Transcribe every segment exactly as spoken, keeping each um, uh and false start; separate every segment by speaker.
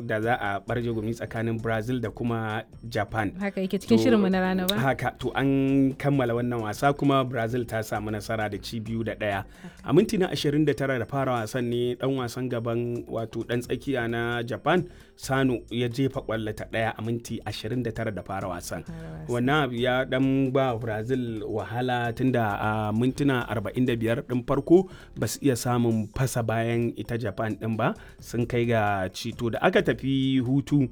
Speaker 1: da za a barje gumi tsakanin Brazil da kuma Japan.
Speaker 2: Haka yake, cikin
Speaker 1: To,
Speaker 2: shirinmu na rana ba.
Speaker 1: Haka, to an kammala wannan wasa kuma Brazil ta samu nasara da ci biyu da ɗaya. A minti na ashirin da tara da fara wasan ne dan wasan gaban, wato dan tsakiya na Japan, Sano, ya jefa kwallo ta ɗaya a minti ashirin da tara da fara wasan. Wannan abu ya dan ba Brazil wahala, tunda a mintuna arba'in da biyar din farko ba su iya samun fasa bayan ita Japan din ba sun kai ga cito. Da aka tafi hutu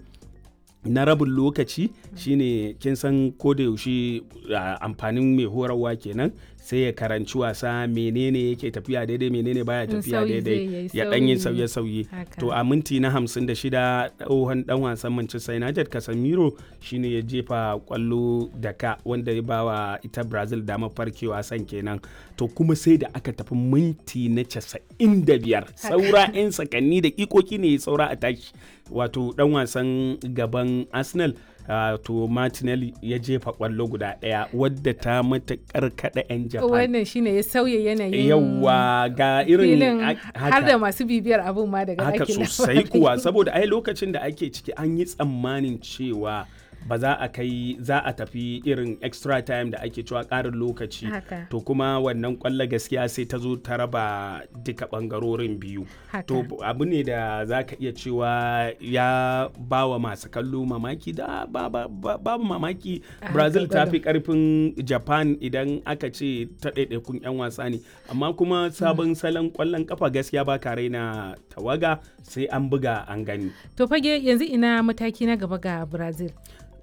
Speaker 1: na rabin lokaci shine, kin san ko da yaushe a, amfanin mai horarwa kenan, sai ya karanci wasa, menene yake tafiya daidai, menene baya
Speaker 2: In
Speaker 1: tafiya
Speaker 2: sauyi zai
Speaker 1: daidai,
Speaker 2: yayi
Speaker 1: ya dan yin
Speaker 2: sauyi.
Speaker 1: sauye-sauye.
Speaker 2: Haka.
Speaker 1: To a minti na hamsin da shida tsohon dan wasan Manchester United Casemiro shine ya jefa kwallo da ka wanda ya bawa ita Brazil damar farkewa san kenan. To kuma sai da aka tafi minti na casa'in da biyar, saura 'yan sakanni da ikoki ne saura a tashi, wato dan wasan gaban Arsenal, ah, to Martinelli ya jefa kwallo guda daya wadda ta matakar kada 'yan Japan.
Speaker 2: Wannan shine ya sauya yanayin
Speaker 1: Yawwa, ga irin
Speaker 2: filin
Speaker 1: a-
Speaker 2: har da masu bibiyar abun ma daga
Speaker 1: haka
Speaker 2: ɗakin
Speaker 1: sosai
Speaker 2: labarai.
Speaker 1: kuwa, saboda ai lokacin da ake ciki an yi tsammanin cewa ba za a kai, za a tafi irin extra time da ake cewa, ƙarin lokaci.
Speaker 2: Haka.
Speaker 1: To kuma wannan kwallo gaskiya sai ta zo ta raba duka ɓangarorin biyu.
Speaker 2: Haka.
Speaker 1: To abu ne da za ka iya cewa ya ba wa masu kallo mamaki, da ba, ba, ba, babu mamaki
Speaker 2: A
Speaker 1: Brazil ta
Speaker 2: haka
Speaker 1: fi karfin Japan idan aka ce ta ɗaiɗaikun 'yan wasa ne, amma kuma sabon salon kwallon kafa gaskiya ba ka raina tawaga sai an buga an gani.
Speaker 2: To Fage, yanzu ina mataki na gaba ga Brazil?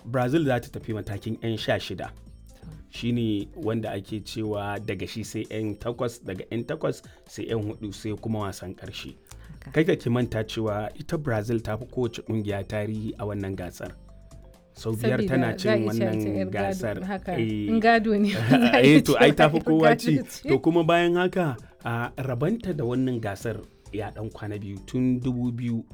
Speaker 1: Brazil za ta tafi matakin 'yan sha shida, shine wanda ake cewa daga shi sai 'yan takwas, daga 'yan takwas sai 'yan hudu, sai kuma wasan karshe.
Speaker 2: Haka.
Speaker 1: Kai ka ki manta cewa ita Brazil ta fi kowace kungiya tarihi a wannan gasar, sau biyar
Speaker 2: Sabida
Speaker 1: tana
Speaker 2: za a
Speaker 1: cin
Speaker 2: iya cewa
Speaker 1: wannan
Speaker 2: yar gado,
Speaker 1: gasar.
Speaker 2: Haka.
Speaker 1: Eh,
Speaker 2: In gado ne, za a iya
Speaker 1: eh to ai
Speaker 2: cewa
Speaker 1: tafi
Speaker 2: yar
Speaker 1: kowa
Speaker 2: gado
Speaker 1: ci.
Speaker 2: ce.
Speaker 1: To kuma bayan haka a rabanta da wannan gasar ya dan kwana biyu tun dubu biyu